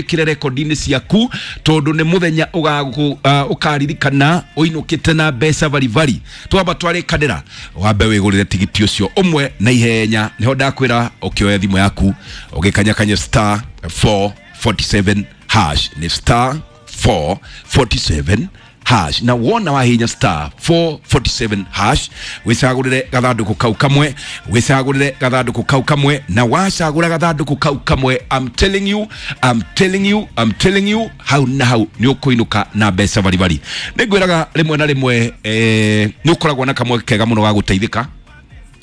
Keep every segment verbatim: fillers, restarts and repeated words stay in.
Ĩkĩre rekondi-inĩ ciaku tondũ nĩ mũthenya ũkaririkana ũinũkĩte na mbeca baribari. Twamba twarĩkanĩra wambe wĩgũrĩre tigiti ũcio ũmwe na ihenya. Nĩho ndakwĩra ũkĩoya thimũ yaku ũgĩkanyakanya star four forty-seven hash, nĩ star four forty-seven hash, na wona wahinya star four forty-seven hash wicagurire gathanduku kau kamwe, wicagurire gathanduku kau kamwe, na wacagura gathanduku kau kamwe, I'm telling you, I'm telling you, I'm telling you, hau na hau ni ukuinuka na mbeca baribari. Nĩngwĩraga rĩmwe na rĩmwe eh, nĩ ũkoragwo na kamwe kega mũno ga gũteithĩka,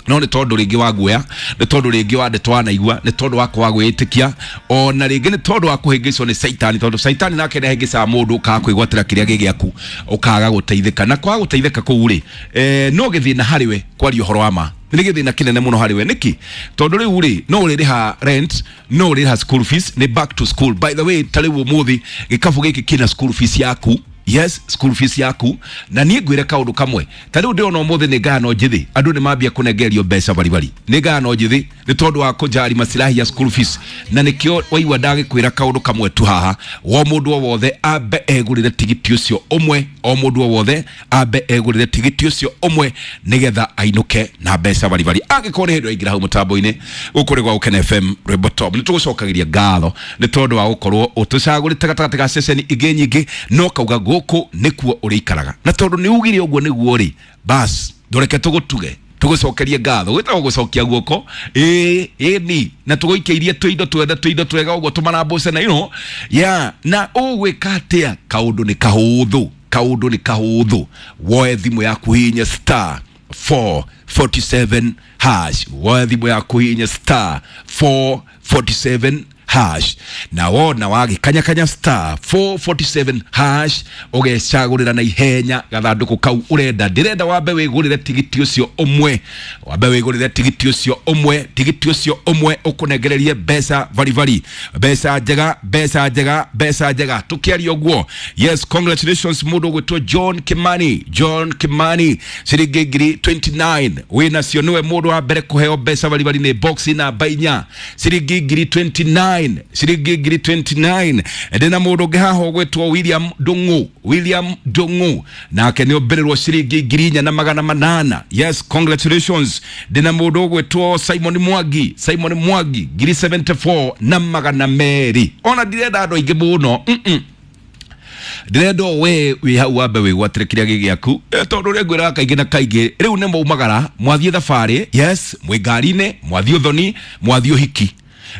no nĩ tondũ rĩngĩ wa guoya, nĩ tondũ rĩngĩ wa ndeto wanaigua, nĩ tondũ wa kwaga gwĩtĩkia, ona rĩngĩ nĩ tondũ wa kũhĩngĩcwo nĩ caitani, tondũ caitani nake nĩahĩngĩcaga mũndũ ũkaga kwĩgwatĩra kĩrĩa gĩ gĩaku, ũkaga gũteithĩka. Na kwaga gũteithĩka kũu rĩ, eh, no gĩthĩna harĩ we kwaria ũhoro wa ma, nĩ gĩthĩna kĩnene mũno harĩ we. Nĩkĩ? Tondũ rĩu rĩ, no ũrĩrĩha rent, no ũrĩrĩha school fees, nĩ back to school. By the way, ta rĩu ũmũthĩ gĩkabũ gĩkĩ kĩna school fees yaku. Yes, school fees yaku. Na niĩ ngwĩre kaũndũ kamwe, ta rĩu ndĩrona ũmũthĩ nĩ ngayano njĩthĩ, andũ nĩ mambia kũnengerio mbeca baribari, nĩ ngayano njĩthĩ nĩ tondũ wa kũjari masilahi ya school fees. Na nĩkĩo waigua ndagĩkwĩra kaũndũ kamwe tu haha, o mũndũ o wothe ambe egũrĩre tigiti ũcio ũmwe, o mũndũ o wothe ambe egũrĩre tigiti ũcio ũmwe nĩgetha ainũke na mbeca baribari. Angĩkorwo nĩ hĩndĩ waingĩra hau mũtambo-inĩ gũkũ nĩ gwa Gũkena F M Rwĩmbo Top, nĩ tũgũcokagĩria ngatho nĩ tondũ wa gũkorwo ũtũcagũrĩte gatagatĩ ga ceceni ingĩ nyingĩ, no kauga gũkũ nĩkuo ũrĩikaraga. Na tondũ nĩ ugire ũguo nĩguo rĩ, bas ndũreke tũgũtuge, tũgũcokerie ngatho, gwĩtagwo gũcokia guoko, ĩĩ ĩni, na tũgũikĩirie tũindo twethe tũindo twega ũguo tũmarambũce na you know, yeah. Na ũgwĩka atĩa? Kaũndũ nĩ kahũthũ, kaũndũ nĩ kahũthũ. Woe thimũ yaku hihinya star four forty-seven hash, woe thimũ yaku hihinya star four forty-seven hash, na wona wagĩkanyakanya star four forty-seven hash ũgecagũrĩra na ihenya gathandũkũ kau ũrenda. Ndĩrenda wambe wĩgũrĩre tigiti ũcio ũmwe, wambe wĩgũrĩre tigiti ũcio ũmwe, tigiti ũcio ũmwe ũkũnengererie mbeca baribari, mbeca njega, mbeca njega, mbeca njega. Tũkĩaria ũguo, yes, congratulations mũndũ ũgwĩtwo John Kimani, John Kimani, ciringi ngiri twenty-nine wĩnacio, nĩwe mũndũ wa mbere kũheo mbeca baribari nĩ box namba inya, ciringi ngiri twenty-nine, ciringi ngiri twenty-nine. Ndĩna mũndũ ũngĩ haha ũgwĩtwo William Ndung'u, William Ndung'u, nake nĩ ombĩrĩrwo ciringi ngiri inya na magana manana. Yes, congratulations. Ndĩna mũndũ ũgwĩtwo Simon Mwangi, Simon Mwangi, ngiri seventy-four na magana merĩ. Ona ndirenda andũ aingĩ mũno, mm-mm. Ndĩrenda o we wĩ hau wambe wĩgwatĩre kĩrĩa gĩ gĩaku, tondũ ũrĩa ngwĩraga kaingĩ na kaingĩ, rĩu nĩ mwaumagara mwathiĩ thabarĩ, yes, mwĩ ngari-inĩ, mwathiĩ ũthoni, mwathiĩ ũhiki,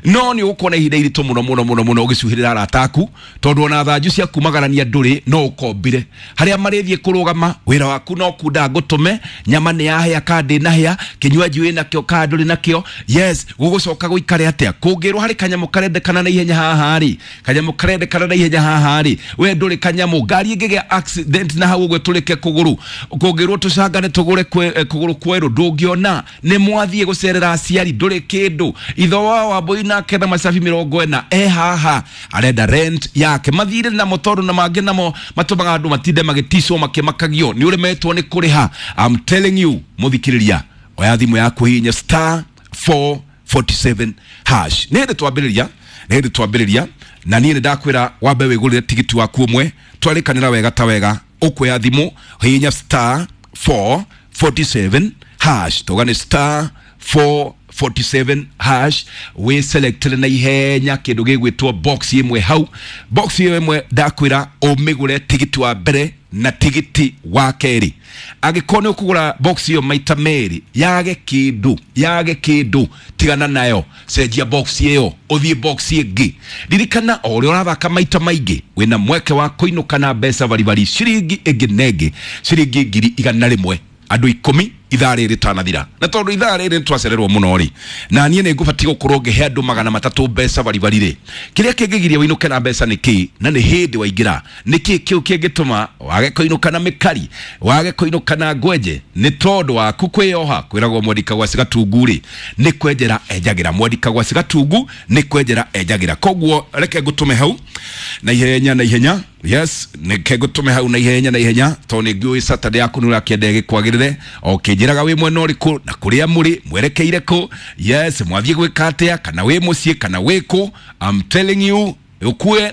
no nĩ ũgũkorwo na ihinda iritũ mũno mũno mũno mũno ũgĩcuhĩrĩra arata aku, tondũ ona thanju cia kumagarania ndũrĩ no ũkombire. Harĩa marĩthiĩ kũrũgama, wĩra waku no kunda ngũtũme, nyama nĩ yahĩa kana ndĩnahĩa, kĩnywaji wĩnakĩo kana ndũrĩ nakĩo. Yes, gũgũcoka gũikare atĩa? Kũngĩrwo harĩ kanyamũ karendekana na ihenya haha rĩ, kanyamũ karendekana na ihenya haha rĩ, we ndũrĩ kanyamũ, ngari ĩngĩgĩa accident na hau ũguo ĩtũrĩke kũgũrũ, kũngĩrwo tũcangane tũgũre kũgũrũ kwerũ ndũngĩona, nĩ mwathiĩ gũcerera aciari ndũrĩ kĩndũ, itho wa Wambũi nake na macabi mĩrongo ĩna e haha arenda rent yake, mathire namo tondũ na mangĩ namo matũmaga andũ matinde magĩticwo makĩmakagio nĩ ũremetwo nĩ kũrĩha. I'm telling you, mũthikĩrĩria, oya thimũ yaku hihinya star four forty-seven hash. Nĩ hĩndĩ twambĩrĩria, nĩ hĩndĩ twambĩrĩria, na niĩ nĩ ndakwĩra wambe wĩgũrĩre tigiti waku ũmwe, twarĩkanĩra wega ta wega, ũkuoya thimũ hihinya star four forty-seven hash, tuga nĩ star four forty-seven hash, wĩ selected na ihenya kĩndũ gĩgwĩtwo box ĩmwe hau, box ĩyo ĩmwe ndakwĩra ũmĩgũre tigiti wa mbere na tigiti wa kerĩ. Angĩkorwo nĩ ũkũgũra box ĩyo maita merĩ, yage kĩndũ, yage kĩndũ, tigana nayo, cenjia box ĩyo ũthiĩ box ĩngĩ. Ririkana o ũrĩa ũrathaka maita maingĩ wĩna mweke wa kũinũka na mbeca baribari ciringi ĩngĩ na ĩngĩ, ciringi ngiri igana rĩmwe, andũ ikũmi ithaa rĩrĩ rĩtanathira. Na tondũ ithaa rĩrĩ nĩtwacererwo mũno rĩ, na niĩ nĩ ngũbatiĩ gũkorwo ngĩhe andũ magana matatũ mbeca baribari rĩ, kĩrĩa kĩngĩgiria wĩinũke na mbeca nĩ kĩĩ? Na nĩ hĩndĩ waingĩra, nĩ kĩĩ kĩu kĩngĩtũma wage kũinũka na mĩkari, wage kũinũka na ngwenje? Nĩ tondũ waku kwĩyoha. Kwĩragwo mwandĩka gwa Cigatungu rĩ, nĩ kwenjera enjagĩra, mwandĩka gwa Cigatungu nĩ kwenjera enjagĩra. Koguo reke ngũtũme hau na ihenya na ihenya. Yes, nĩke ngũtũme hau na ihenya na ihenya, tondũ nĩ ngĩũĩ Saturday yaku nĩ ũrakĩenda ĩgĩkwagĩrĩre, o kĩnjĩraga wĩ mwena ũrĩkũ na kũrĩa mũrĩ mwerekeire kũ. Yes, mwathiĩ gwĩka atĩa, kana wĩ mũciĩ kana wĩ kũ. I'm telling you, Ũkue.